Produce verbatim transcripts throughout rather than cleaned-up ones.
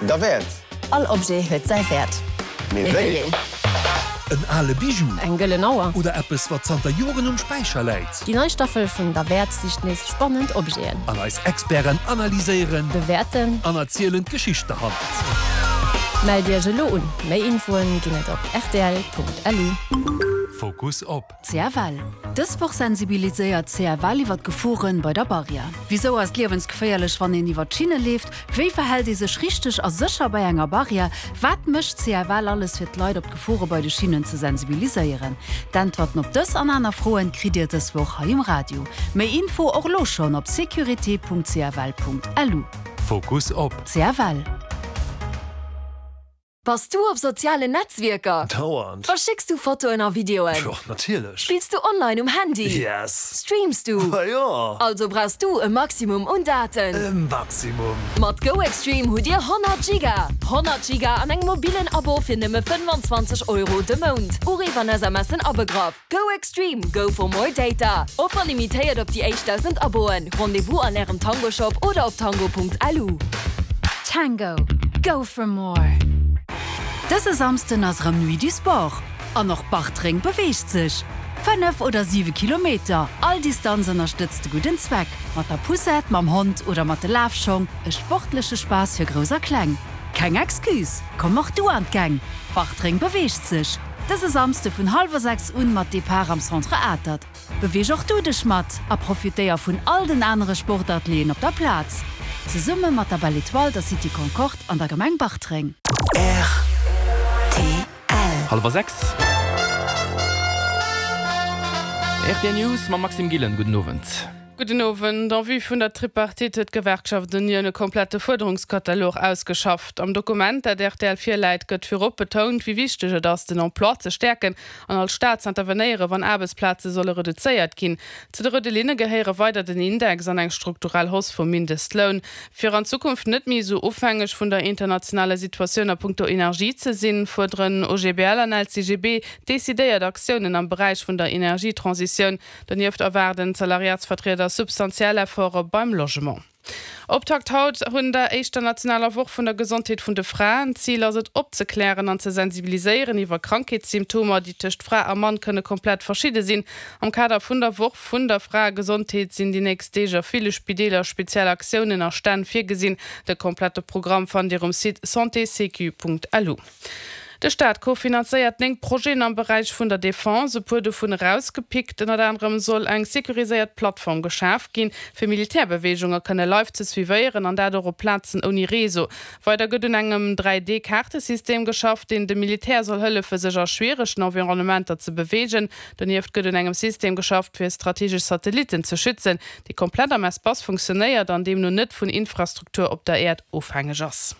Derwäert! All Objet huet säi Wäert. Mee wéi een? En ale Bijou. Eng gëllen Auer. Oder eppes, wat zanter Joren um Späicher läit. Déi nei Staffel vun Derwäert sicht nees spannend Objeten. An eis Experten analyséieren. Bewäerten. An erzielen d'Geschicht derhannert. Mellt Iech elo un! Méi Infoen ginn et op rtl.lu. Fokus op. C F L. Dës Woch sensibiliséiert C F L iwwer d'Geforen bei der Barrière. Wisou ass et liewensgeféierlech, wann een iwwer d'Schinne leeft? Wéi verhält ee sech richteg a sécher bei enger Barrière? Wat mécht C F L alles fir d'Leit op d'Gefore bei de Schinnen ze sensibiliséieren? D'Äntwerten op dës an aner Froen kritt Dir dës Woch hei um Radio. Méi Info och elo schonn op sécurité Punkt C F L Punkt L U. Fokus op. C F L. Bass du op sozialen Netzwierker? Dauernd. Verschécks du Fotoen a Videoen? Jo, natierlech. Spills du online um Handy? Yes. Streams du? Ma jo. Also brauchs du e Maximum un Daten. E Maximum. Mat GoExtreme hutt Dir honnert Giga! honnert Giga an engem mobillen Abo fir nëmme fënnfanzwanzeg Euro de Mount. Uriff an S M Sen abegraff. GoExtreme, go for more data. Offer limitéiert op déi éischt dausend Aboen. Rendez-vous an Ärem Tango Shop oder op tango Punkt L U. Tango, go for more. Dëse Samsden ass rëm Nuit du Sport. An och Bartreng beweegt sech. Fënnef oder siwe Kilometer, all Distanz ënnerstëtzt de gudden Zweck. Mat der Poussette, mam Hond oder mat de Lafschong, e sportleche Spaass fir Grouss a Kleng. Keng Excuse, komm och du an d'Gäng. Bartreng beweegt sech. Dëse Samsde vun hallwer sechs un mat Depart am Centre Atert. Beweeg och du dech mat a profitéier vun all den anere Sportatelieren op der Plaz. Zesumme mat der Belle Etoile, der City Concorde an der Gemeng Bartreng. R T L. Hallwer sechs. R T L News mam Maxime Gillen. Gudden Owend. Gudden Owend. En vue vun der Tripartite huet d'Gewerkschaft Unioun e komplette Fuerderungskatalog ausgeschafft. Am Dokument, dat R T L virläit, gëtt virop betount, wéi wichteg et ass, den Emploi ze stäerken an als Staat ze intervenéieren, wann Aarbechtsplaze solle reduzéiert ginn. Zu de roude Linne gehéiere weider den Index an eng strukturell Hausse vum Mindestloun. Fir an Zukunft net méi esou ofhängeg vun der internationaler Situatioun a punkto Energie ze sinn, fuerderen O G B L an L C G B decidéiert Aktiounen am Beräich vun der Energietransitioun. Donieft erwaarden d'Salariatsvertrieder substantiell Efforte beim Logement. Optakt haut vun der éischter nationaler Woch vun der Gesondheet vun de Fraen. Zil ass et opzeklären an ze sensibiliséieren iwwer Krankheetssymptomer, déi tëscht Fra a Mann kënne komplett verschidde sinn. Am Kader vun der Woch vun der Fraegesondheet sinn déi nächst Deeg a ville Spideeler speziell Aktiounen a Stänn virgesinn. De komplette Programm fannt Dir um Site santésécu Punkt L U. De Staat kofinanzéiert néng Projeten am Beräich vun der Defense, e puer dovun erausgepickt. Ënnert anerem soll eng securiséiert Plattform geschaf ginn, fir Militärbeweegunge kënne live ze suivéieren an dat och op Plazen ouni Réseau. Weider gëtt un engem dräi D-Kaartesystem geschafft, deen dem Militär soll hëllefen, sech a schwieregen Environnementer ze beweegen. Donieft gëtt un engem System geschafft, fir strategesch Satellitten ze schützen, dee komplett am Espace funktionéiert an deemno net vun Infrastruktur op der Äerd ofhängeg ass.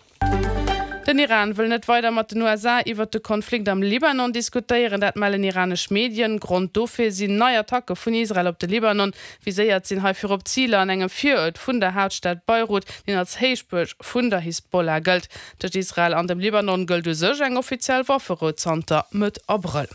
Den Iran wëll net weider mat den U S A iwwer de Konflikt am Libanon diskutéieren, dat mellen iranesch Medien. Grond dofir sinn nei Attacke vun Israel op de Libanon. Viséiert sinn hei virop Ziler an engem Viruert vun der Haaptstad Beirut, deen als Héichbuerg vun der Hisbollah gëllt. Tëscht Israel an dem Libanon gëllt u sech eng offiziell Wafferou zanter Mëtt Abrëll.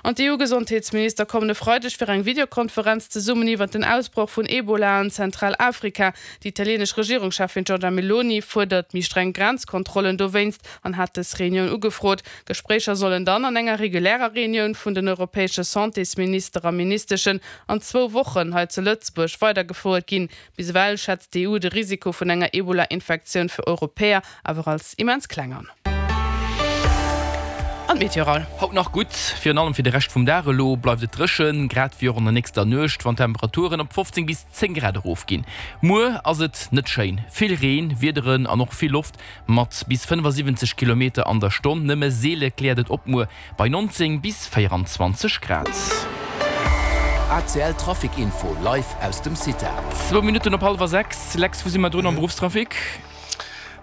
An d'E U-Gesondheetsminister kommen e Freideg fir eng Videokonferenz zesummen iwwer den Ausbroch vun Ebola an Zentralafrika. Déi italieenesch Regierungscheffin Giorgia Meloni fuerdert méi streng Grenzkontrollen dowéinst an hat dës Reunioun ugefrot. Gespréicher sollen dann an enger regulärer Reunioun vun den europäesche Santésminister a Ministeschen an zwou Wochen hei zu Lëtzebuerg weidergefouert ginn. Bis ewell schätzt d'E U de Risiko vun enger Ebola-Infektioun fir Europäer awer als immens kleng an. An d'Meteo. Haut nach gutt, virun allem fir de Rescht vum Dag elo bleift et dréchen, grad wéi och an der nächster Nuecht, wann d'Temperaturen op fofzéng bis zéng Grad erofginn. Muer ass et net schéin, vill Reen, Wiederen an och vill Loft mat bis fënnefasiwwenzeg Kilometer an der Stonn. Nëmme seele kläert et op muer bei nonzéng bis véieranzwanzeg Grad. A C L Trafic Info live aus dem CITA. Zwou Minutten op hallwer sechs. Lex, wou si mer drun am Beruffstrafic?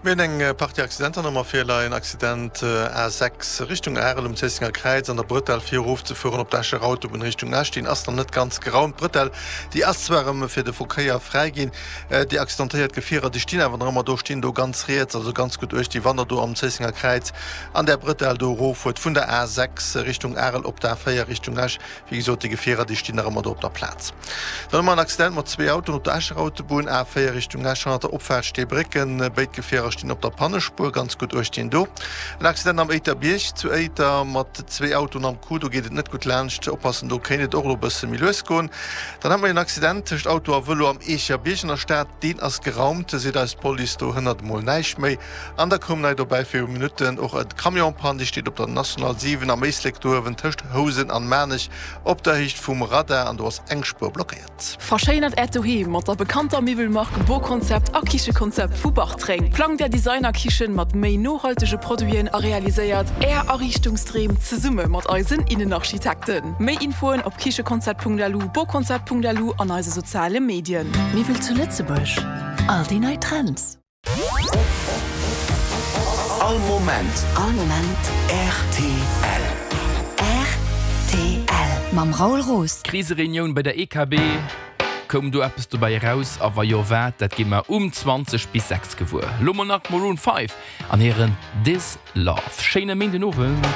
Mir hunn eng Partie Accidenter nach virleien. Accident A sechs Richtung Arel um Zéissenger Kräiz an der Brëtell fir erofzefueren op d'Escher Autobunn Richtung Esch. Deen ass nach net ganz geraumt. D'Brëtell, déi ass zwar erëm fir de Verkéier fräi ginn. Déi accidentéiert Gefierer, déi stinn awer nach ëmmer do, stinn do ganz riets, also ganz gutt uecht, déi wann der do am Zéissenger Kräiz an där Brëtell do eroffuert vun der A sechs Richtung Arel op d'A véier Richtung Esch. Wéi gesot, déi Gefierer, déi stinn nach ëmmer do op der Plaz. Dann hu mer en Accident mat zwee Autoen op der Escher Autobunn, A véier Richtung Esch, hannert der Opfaart Steebrécken. Béid Gefierer Chauffeure stinn op der Pannespuer, ganz gutt uecht dinn do. En Accident am Éiterbierg zu Éiter mat zwee Autoen am Coup, do geet et net gutt laanscht, oppassen, do kéint et och elo e bësse méi lues goen. Dann hat mer en Accident tëscht Auto a Vëlo am Eecherbierg an der Stad, deen ass geraumt, seet eis d'Police, do hënnert emol näischt méi. An da koum nei dobäi viru Minutten och e Camion-Panne, dee steet op der National siwen am Éislek do uewen tëscht Housen an Maarnech op der Héicht vum Radar an do ass eng Spuer blockéiert. Verschéinert Äert Doheem mat der bekannter Miwwelmark Boconcept a Kichekonzept vu Bartreng. Plangt Är Designer-Kichen mat méi nohaltege Produiten a realiséiert Är Ariichtungsdreem zesumme mat eisen Innenarchitekten. Méi Infoen op kichekonzept.lu, boconcept.lu an eise soziale Medien. Miwwel zu Lëtzebuerg, all déi nei Trends. All Moment. All Moment. Rtl. Rtl. Mam Raoul Roos. Krisereunioun bei der E K B, Koum do eppes dobäi eraus a wa jo wat? Dat gi mer um zwanzeg bis sechs gewuer. Lo mol nach Maroon five an hiren This Love. Schéine Méindenowend.